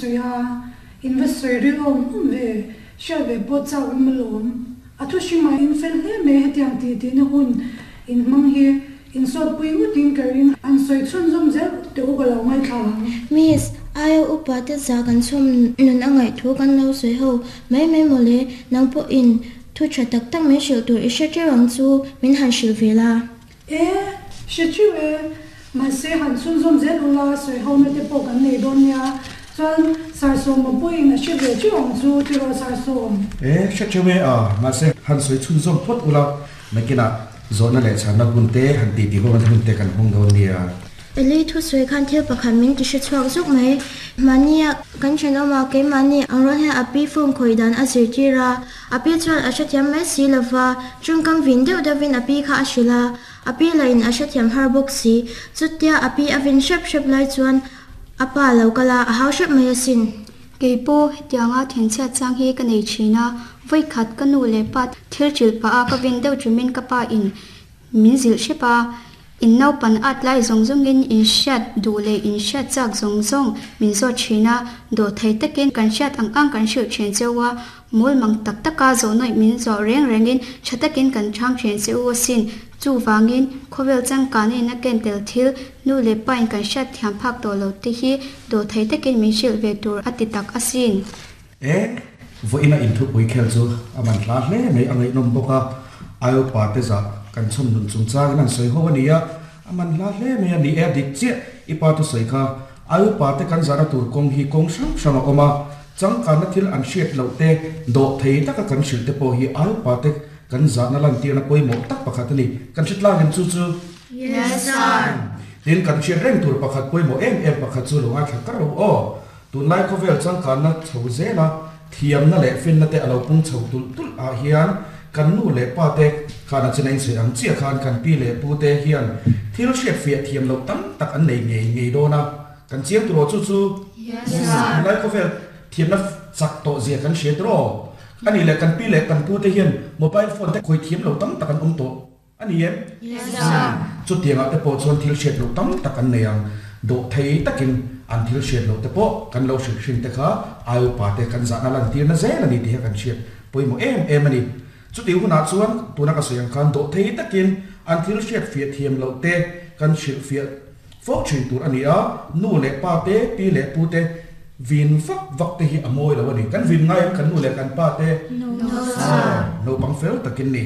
sawi a, in va sawi ril awm awm ve, hriat ve pawh chak awm alawm. A thu hrimah in fel hle mai hetiang tih tihna hun in hmang hi insawtpui ngawtin ka ring. An sawi chhunzawm zel teh u ka lo ngaithla ang. Miss, aia upa te zah kan chhawm nun a ngaih thu kan lo sawi ho mai mai mawle, nang pawhin thu tha tak tak min hrilh tur i hre teuh ang chu min han hrilh ve la. E, hre teuh e. Mahse, han chhunzawm zel ula sawi hona te pawh kan nei dawn nia. Chuan, Sarsawma pawhin a hre ve teuh ang chu, tiraw Sarsawm? E, hre teuh e a. Mahse, han sawi chhunzawm phawt ula, nakinah zawhna leh chhanna hun te han titi ho hun te kan hmang dawn nia. Eli thusawi khan thil pakhat min ti hre chhuak zuk mai. Mahnia kan thenawma keimahni ang rual hian a pi phone khawih dan a zirtir a. A pi chuan a hrethiam mai si lo va, tawngkam vin deuh deuhin a pi kha a hrilh a, a pi lahin a hrethiam har bawk si. Chutia a pi a vin hrep hrep lai chuan a pa a lo kal a, a hau hrep mai asin. Kei pawh hetianga thenchhiat chang hi ka nei thin a, vawikhat ka nu leh pa thil hrilh pah a ka vin deuh ṭumin ka pa in Min zilh hrep a, in naupan at lai zawng zawngin in hriat duh leh in hriat chak zawng zawng min zawt thin a, dawhthei takin kan hriat ang ang kan hrilh thin che u a, mawl mang tak taka zawhnawih min zawh reng rengin tha takin kan chhang thin che u asin. Chuvangin, khawvel changkana in a ken tel thil, nu leh pain kan hriat thiam phak tawh lo te hi dawhthei takin min hrilh ve tur a ti tak asin. E, vawiina inthupui khel chu a man hla hle mai, a ngaihnawm bawk a, Iopa te zah kan chhawm nun chungchangin an sawi ho a ni a, a man hla hle mai a ni e, a dik chiah i pa thusawi kha. Iopa te kan zahna tur kawng hi kawng hrang hrang a awm a, changkanna thil an hriat loh te, dawh thei taka kan hrilh te pawh hi Iopa te kan zahna lantirna pawimawh tak pakhat a ni. Kan hre tlang em chu chu? Yes sir. Tin, kan hriat reng tur pakhat pawimawh em em pakhat chu lo ngaithla kar lo aw. Tunlai khawvel changkanna chho zela thiamna leh finna te a lo pung chho tulh tulh ah hian kan nu leh pa te khan a china insawi ang chiah khan kan pi leh pu te hian thil hriat fiah thiam loh tam tak an nei ngei ngei dawn a, kan chiang tur aw chu chu tunlai khawvel thiamna chak tawh zia kan hria tur aw. A nih leh kan pi leh kan pu te hian mobile phone te khawi thiam lo tam tak an awm tawh. A ni em? Yes sir. Chutiangah te pawh chuan thil hriat loh tam tak an nei ang. Dawh thei takin an thil hriat loh te pawh kan lo hrilh hrin te kha ai upa te kan zahna lantirna zel a ni tih kha kan hriat pawimawh em em a ni. Chutih hunah chuan tuna ka sawi ang khan dawh thei takin an thil hriat fiah thiam loh te kan hrilh fiah fo thin tur a ni a, nu leh pa te, pi leh pu te vin vak vak te hi a mawi lo a ni. Kan vin ngai em kan nu leh kan pa te? No sir. Naupang fel takin ni.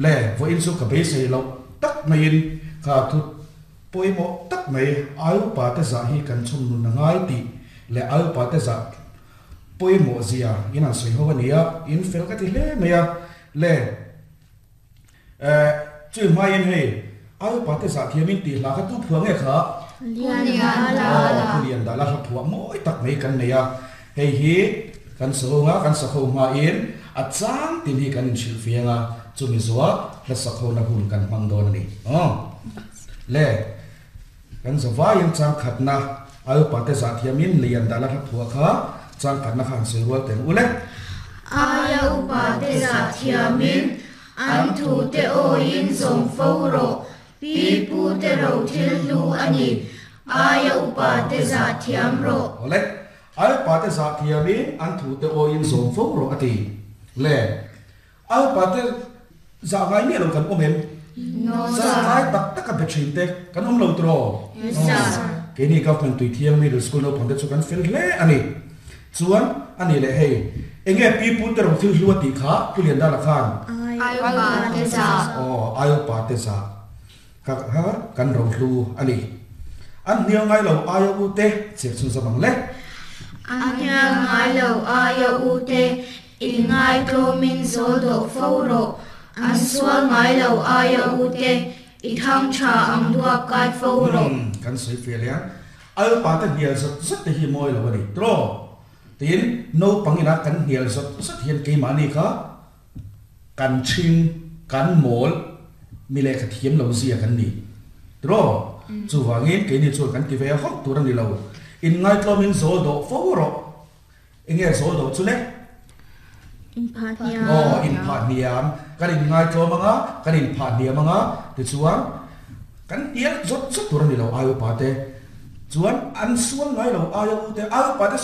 Le, vawiin chu ka beisei loh tak maiin kha thu pawimawh tak mai ai upa te zah hi kan chhun nun a ngai tih leh ai upa te zah pawimawh zia in an sawi ho a ni a, in fel ka ti hle mai a. Le, eh, chui hmaiin hei ai upa te zah thiamin tih hla kha tu phuah nge kha? Lian Aw, Pu Lian Dala hla phuah mawi tak mai kan nei a. Hei hi kan sahunga kan sakho hmain a chang tin hi kan inhrilh fiang a, chumi zuah hla sakhona hun kan hmang dawn a ni. Aw. Le, kan zavaiin chang khatna ai upate zah thiamin Lian Dala hla phuah kha chang khatna kha han sawi rual teh ang u le. Aia upate zah thiamin an thute awiin zawm fo rawh. Pi pu te ro thil hlu a ni. Aia upa te zah thiam rawh. Awle, aia upa te zah thiamin an thu te awiin zawm fo rawh a ti. Le, aia upa te zah ngai miah lo kan awm em? No sir. Zah ngai tak taka be thin te kan awm lo tiraw? Yes sir. Keini Government Tuithiang Middle School naupang te chu kan fel hle a ni. Chuan, a ni leh hei, enge pi pu te ro thil hlu a tih kha Pu Liandala khan? Aia upa te zah. Aw, aia upa te zah. Kha kha kan ro hlu a ni. An hnial ngai lo aia u te chhiar chhun zawm ang le. An hnial ngai lo aia u te inngai tlawmin zawl dawh fo rawh. An sual ngai lo aia u te i thang tha ang duak kai fo rawh. Kan sawi fiah leh ang. Ai upa te hnial zawt zawt te hi mawi lo a ni tiraw? Tin, naupang ina kan hnial zawt zawt hian keimahni kha kan ṭhing, kan mawl, mi lehkha thiam lo zia kan ni tiraw? Chuvangin keini chuan kan ti ve hauh tur a ni lo. Inngaitlawmin zawl dawh fo rawh. Enge zawl dawh chu le? Inphah hniam. Aw, inphah hniam. Kan inngaitlawm ang a, kan inphah hniam ang a, tichuan kan hnial zawt zawt tur a ni lo ai upa te. Chuan an sual ngai lo ai a u te, ai upa te.